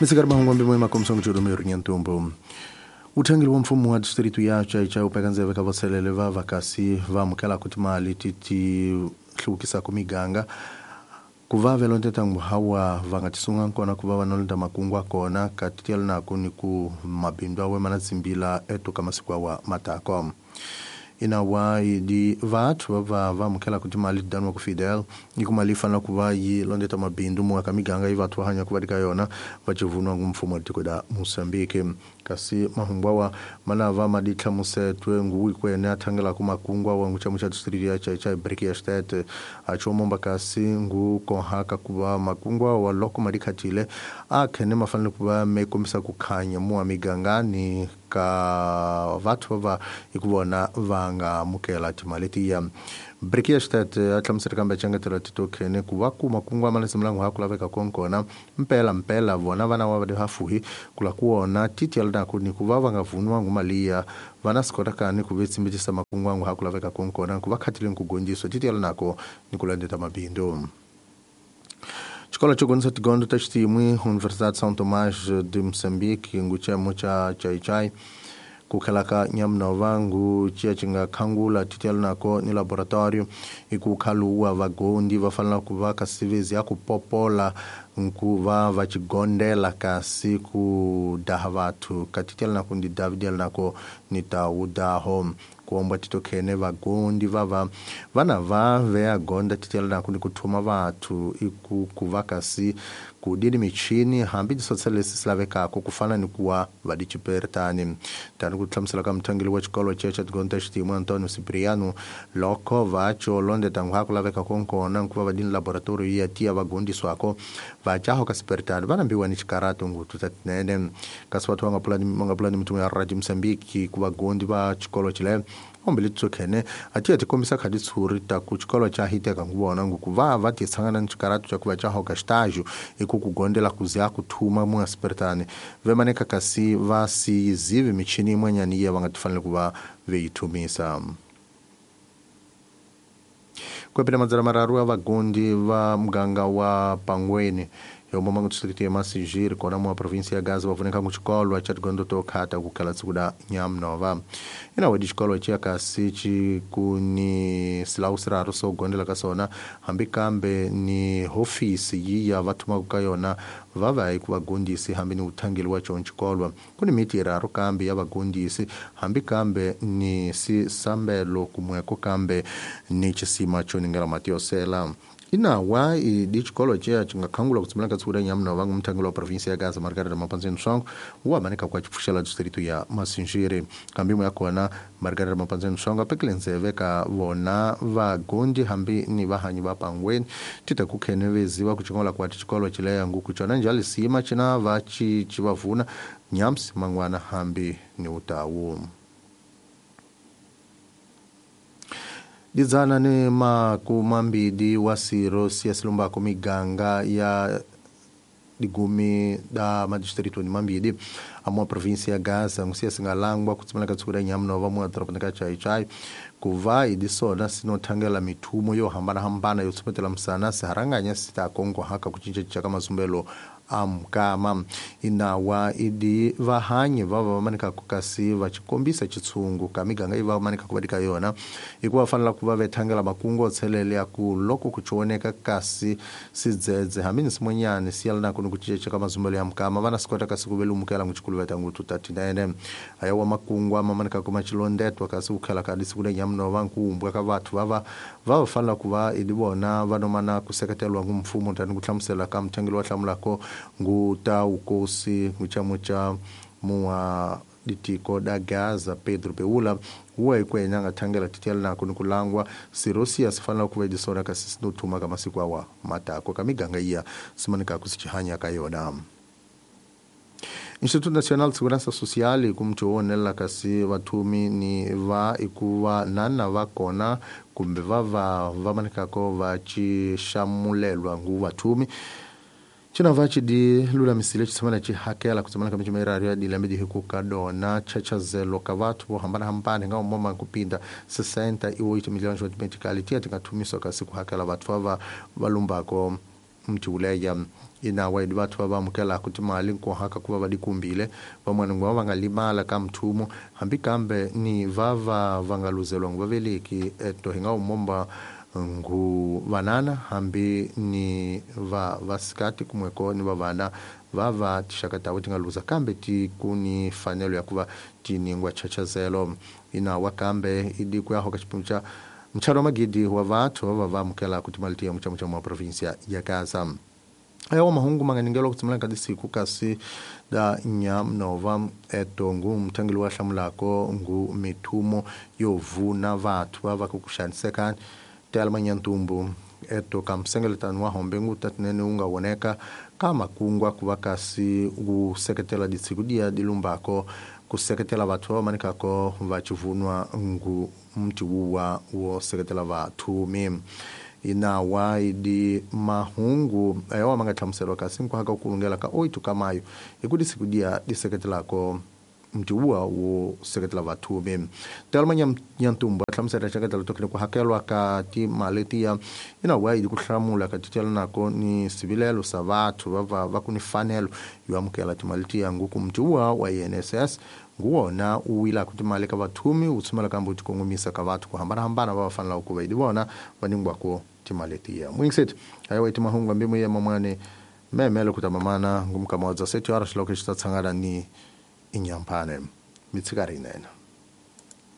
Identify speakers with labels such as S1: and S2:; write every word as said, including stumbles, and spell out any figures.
S1: Misikari mahungu mbimo makomsongo churume rinyantumbo. Uthangeli wa mfumo wa distritu ya Chaichai upeka ndzeve ka vaselele va vakasi va amukela ku timali ti ti hluvukisaka miganga ku va velondeta hawa va nga tisunga kona ku va va nolenda makungu kona ka titiela nako ni ku mabindu awe mana tsimbila eto ka masiku awa matako. Inawa idi vathu va va va amukela ku timali danwa ku Fidel ni ku mali fanela ku va yi londeta mabindu mu ka miganga yi vathu va hanya ku va ka yona va chivunwa ngu mfumo wa tiko da Mozambique. Kasi mahungu awa mana va maditlhamusetwe ngu ikwene a thangela ku makungu awa ngu chamu cha district ya Chaichai Briki ya State a chomomba kasi ngu kohaka ku va makungu awa loko madikhatile a khene mafanele ku va me kombisa ku khanya mu migangani ka vathu va hi ku vona va nga amukela timali tiya. Briki ya State a hlamusela kambe changetela titokhene ku va ku makungu ama lesimlangu ha ku laveka konkona mpela mpela vona vana wa va hafuhi kula ku wona titiela nako ni ku va va nga vuniwa ngu mali ya vana sikota kani ku vetsimbitisa makungu angu ha ku laveka konkona ku va khatileni ku gondziswa titiela nako ni ku landeta mabindu. Xikolo xo gondzisa tigondo ta xitimwi Universidade São Tomás de Moçambique ngu chemo cha Chaichai ku khelaka Nyamunova ngu ciya ci nga khangula titiela nako ni laboratorio i ku khaluwa vagondi va fanela ku va ka sivezi ya ku popola nku va va chigondela kasi ku daha vathu ka titiela nako ndi David nako ni ta udaho kuomba titokhene vagondi va va vana va veya gonda titiela nako ni ku thuma vathu i ku ku va kasi ku dini michini hambi tisotsela leswi swi lavekaka ku fana ni ku wa va dichiperitani tani ku hlamusela ka muthangeli wa xikolo che cha tigondo ta xitimu Antonio Cipriano loko va cho londeta ngu ha ku laveka konkona nku va va dini laboratorio ya tiya va gondiswako va jaho ka siperitani va nambiwa ni xikarato ngutu ta tinene kasi vathu va nga pulani va nga pulani mitumo ya Radio Mozambique ku vagondi va xikolo chile ombe litshokhene a tiya ti kombisa khadi tshuri ta ku xikolo cha hiteka ngu vona ngu ku va va ti tshangana ni xikarato xa ku va jaho ka xitajo i ku ku gondela ku ziya ku thuma mu siperitani vemaneka kasi va si zivi michini yin'wanyani ya va nga ti fanele ku va ve yi thumisa. Kwepela madzana mararu ya vagondi va muganga wa Pangweni yomoma ngu district ya Massingir kona mu provinsia ya Gaza va vuneka ngu xikolo cha tigondo to khata ku khala tsiku da Nyamunova. Ina wedi xikolo cha kasi ci ku ni silawu siraru so gondela ka sona hambi kambe ni hofisi yi ya va thumaka ka yona va va hi ku vagondisi hambi ni uthangeli wa chon xikolo ku ni miti yiraru kambe ya vagondisi hambi kambe ni sisambelo kumweko kambe ni chisima cho ningela mati yo sela. Inawa idi xikolo che ci nga khangula ku tsimela ka tsura Nyamunova ngu muthangeli wa provinsia ya Gaza Margarida Mapanzeni Songo wa manika kwa chipfuxela distrito ya Massingir kambi ya kona Margarida Mapanzeni Songo apekile ndzeve ka vona vagondi hambi ni vahanyi va Pangweni tita ku khene veziwa ku chingola kwa xikolo chileya ngu ku chona njali sima china va chi chi vavuna nyamsi mangwana hambi ni utawu. Dizana ni makumambidi wa siro siya silumbako miganga ya digumi da madistrito ni mambidi amwa provinsia ya Gaza ngusiya singalangwa kutsimela ka tsura Nyamunova mu doroba ka Chaichai ku va idisona sinothangela mithumo yo hambana hambana yo tsumetela msana siharanganya sita kongo haka ku cinca ka mazumbelo amkama. Inawa idi vahanyi va va manika ku kasi va chikombisa chitsungu ka miganga iva manika ku vadika yona hikuva fanela ku va vethangela makungu tshelele ya ku loko ku chioneka kasi sidzedze hambi ni simonyani siyala nako ni ku cinca ka mazumbelo ya mkama vana sikota kasi ku velumukela nguchikuluveta ngutu tatinene aya wa makungu ama manika ku machilondetwa kasi ku khala ka disiku le Nyamunova nkumbwa ka vathu va va va fanela ku va idi vona va nomana ku seketelwa ngu mfumo tani ku hlamusela ka muthangeli wa hlamulako ngu ta ukosi nguchamucha muwa ditiko da Gaza Pedro Beula huwa ikwenya nga thangela titiela nako ni kulangwa sirosia sifanela ku vedisona kasi sinothuma ka masiku awa matako ka miganga iya simanika ku sichihanya ka yona. Instituto Nacional de Segurança Social kumtshonela kasi vathumi ni va ikuva nana va kona kumbe va va va manikako va ci xamulelwa ngu vathumi China va ci di lulamisile xitshemana ci hakela ku tshemana ka michimerario ya dilembe di hikuka dona chachazelo ka vathu vo hambanahambana hi nga umoma ku pinda sessenta e oito milhões de meticali tia ti nga thumiswa kasi ku hakela vathu va va va lumbako mtiuleya inawa idi vathu va amukelaka timali nkohaka ku va va dikumbile van'wana ngo va nga limala ka mthumo hambi kambe ni va va va nga luzeliwa ngu vaveleki eto hi nga umomba ngu vanana hambi ni va vasikati kumweko ni va vana va va tixaka tavo ti nga luza kambe ti ku ni fanelo ya ku va ti ningwa chachazelo inawa kambe idi ku ya hoka xiphemu xa mtshalo wa magidi wa vathu va va amukelaka timali tiya muchamuchamu wa provinsia ya Gaza. Ayo mahungu manganingelo kutsimela ka disiku kasi da nyamnova eto ngu mthangeli wa hlamulako ngu mithumo yo vuna vathu va va ku xanisekani telma nyantumbu eto ka msengeletano wa hombe ngu tatinene wu nga voneka ka makungwa ku va kasi wu seketela disiku dia dilumbako ku seketela vathu va manikako va chivunwa ngu mtiwuwa wo seketela vathumi. Inawa idi mahungu ayo manga hlamuselwa kasi nkwaka ku lungela ka oito ka mayo hi ku disiku dia diseketelako mtiwuwa wo seketela vathumi. Telma Nyantumbu a hlamusela xeketela tokile ku hakelwa ka timali tiya inawa idi ku hlamula ka titela nako ni sivilelo sa vathu va va va ku ni fanelo yo amukela timali tiya nguku mtiwuwa wa I N S S nguwona u wila ku timali ka vathumi wu tshumela kambe wu tikongomisa ka vathu ku hambanahambana va va fanelaka ku va idi vona va ningwako timali tiya. Mwingiseti ayo iti mahungu ambi muye mamane memele kutamamana ngumkama wa seti horas lokho xi ta tshangana ni inyampane mitshikari nene.